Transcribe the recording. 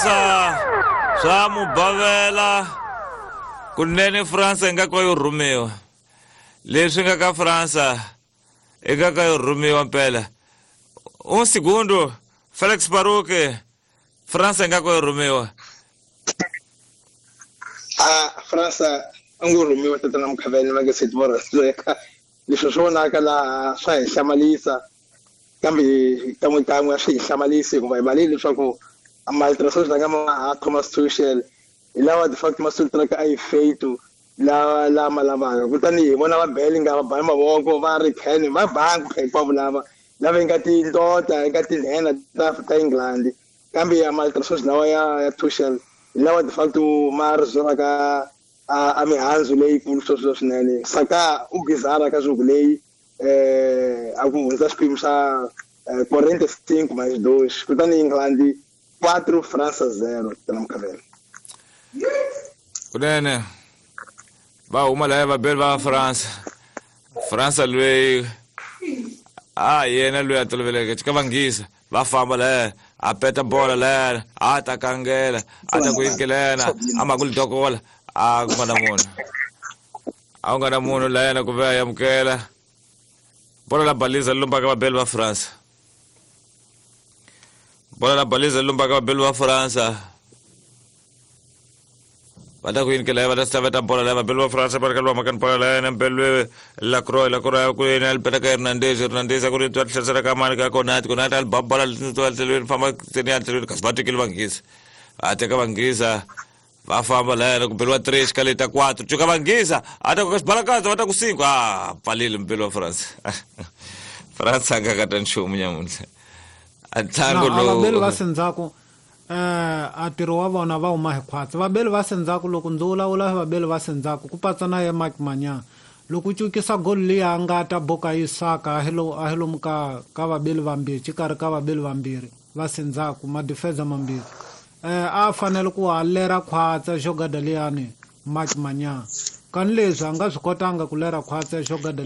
Fransa swa mubavela kunene Fransa yi nga ka yo rhumiwa leswi nga ka Fransa i nga ka yo rhumiwa mpela un segundo Felix Baruke Fransa yi nga ka yo rhumiwa. A Fransa a ngo rhumiwa tatana Mukhavele va nge se tiva leswi swi vonaka laha swa hi hlamalisa kambe kan'we kan'we a swi hi hlamalisi hikuva hi valile leswaku maltrasos la nga ma Thomas Tuchel hi lawa de facto ma sultraka a yi feito lawa lama lavaka. Kutani hi vona va Bellingham va ba mavoko va ri Kane va bangi hinkwavo lava lava yi nga tindota yi nga tinhena ta England, kambe ya maltrasos lawa ya Tuchel hi lawa de facto ma ri zwelaka a mihandzu leyikulu sweswo swinene. Saka u bizarra ka jogo leyi a ku hundza xiphemu xa 45 mais 2, kutani England 4 França 0 tana Mukhavela. Kunene va huma laya vabeli va France. Fransa loyi a yena loyi a toloveleke ka vanghisa va famba laya a peta bola laya a ta kangela a ta ku yinkelena a ma ku lidokola a ku nga na munhu a ku nga na munhu layena ku ve a amukela bola la baliza lombaka vabeli va France, bola la baliza lombaka vabeli va France va ta ku yini va ta staveta bola laya vabeli va France va ri ka lwa makani bola laya na mbeli Lacroix Lacroix ku yini ali peta ka Hernandez Hernandez ku ri twa tlherisela ka mani ka Konati Konati ali ba bola tlhelweni famba tseni ya tlhelweni kasi va tekile vanghisa a teka vanghisa va famba laya ku beliwa 3 xikaleta ta 4 cuka vanghisa a ta ku xibalakatsa va ta ku 5 a pfalile mbeli wa France. France a nga kata nchumu nyamuntlha a ntlangu lowu vabeli va sendzhaku a ntirho wa vona va huma hi khwatsi. Vabeli va sendzhaku loko ndzi vulavula vabeli va sendzhaku ku patsa na ye Mike Manyana loko u cukisa goli liya a nga ta boka Isaka a hi lomu ka vabeli vambirhi xikarhi ka vabeli vambirhi va sendzhaku madifensa mambirhi a fanele ku a lera khwatsa xogada liyani Mike Manyana kani leswi a nga swi kotanga ku lera khwatsa xogada.